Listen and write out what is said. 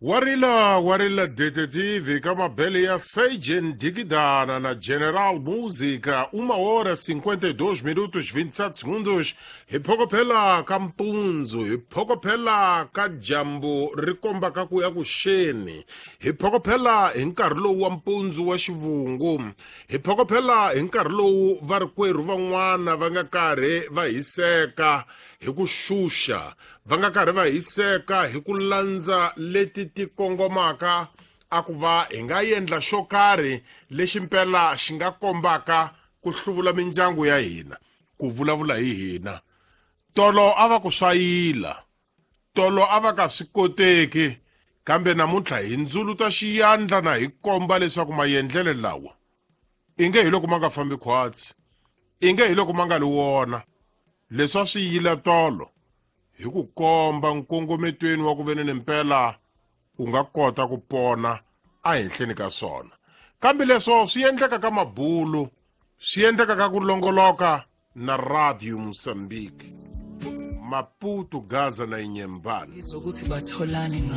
Warila warila detetive ka mabele ya Seijen Digidana na General Música, 1 hora 52 minutos 27 segundos. Hi phokophela ka mpundzu, hi phokophela ka dyambu ri kombaka ku ya ku xeni, hi phokophela hi nkarhi lowu wa mpundzu wa xivungu, hi phokophela hi nkarhi lowu varikwerhu van'wana va nga karhi va hiseka hi ku xuxa, va nga karhi va hiseka hi ku landza leti ti kongomaka a ku va hi nga endla xo karhi lexi mpela xi nga kombaka ku hluvula mindyangu ya hina, ku vulavula hi hina. Tolo a va ku swayila, tolo a va ka swi koteki, kambe namuntlha hi ndzuluta xiyandla na hi komba leswaku maendlelo lawa inge hi loko ma nga fambi khwatsi, inge hi loko ma nga li wona. Leswi a swi yila tolo hi ku komba nkongometweni wa ku veni mpela u nga kota ku pona ehenhleni ka swona. Kambe leswo swi endleka ka mabulu, swi endleka ka ku longoloka na Radio Mozambique, Maputo, Gaza na Inhambane. Izokuthi batholane nga.